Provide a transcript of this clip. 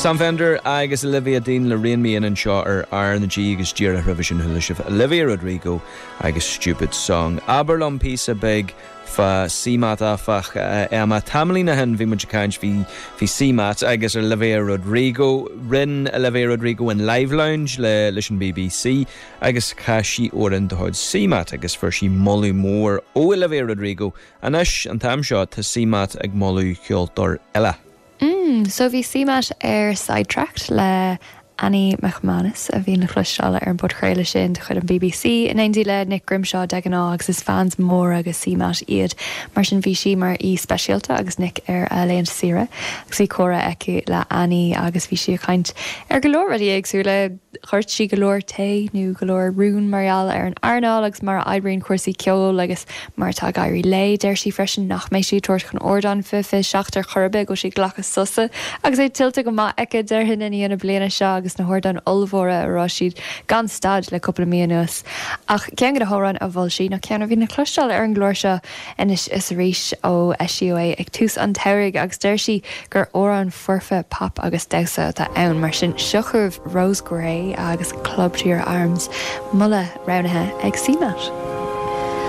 Sam Fender agus Olivia Dean le Rein Me In anseo ar R na G agus díreach roimhe sin chuala sibh Olivia Rodrigo agus Stupid Song. Abair liom píosa beag fá CMAT áfach, Emma. Tamaillín ó shin bhí muid ag caint, bhí bhí CMAT agus Olivia Rodrigo. Rinne Olivia Rodrigo an Live Lounge le leis an BBC agus chas sí amhrán de chuid CMAT agus fuair sí moladh mór ó Olivia Rodrigo. Anois, an t-am seo, tá CMAT ag moladh ceoltóir eile. Mm, so bhí CMAT ar Sidetracked le Annie McManus, a bhíonn le cloisteáil ar an bpodchraoladh sin de chuid an BBC, in éindí le Nick Grimshaw de ghnáth agus is fans móra de CMAT iad. Mar sin bhí sí mar aoi speisialta agus Nick ar a laethanta saoire agus bhí comhrá aici le Annie agus bhí sí ag caint ar go leor rudaí éagsúla. Dhoirt sí go leor tae nó go leor rún mar gheall ar an earnáil agus mar a oibríonn cúrsaí ceoil agus mar atá ag éirí léi. Deir sí freisin nach mbeidh sí ag tabhairt chun ardáin 2027 ar chor ar bith, go bhfuil sí ag glacadh sosa agus é tuillte go maith aici, déarfainn, i ndiaidh na bliana seo agus na hardáin ollmhóra a raibh siad gan stad le cúpla mí anuas. Ach ceann de na hamhráin a mhol sí ná ceann a bhíonn le cloisteáil ar an gclár seo anois is arís ó eisíodh é ag tús an tsamhraidh agus deir sí gur amhrán foirfe pop agus damhsa atá ann. Mar sin, seo chugaibh Rose Gray agus Club to Your Arms, moladh roghnaithe ag CMAT.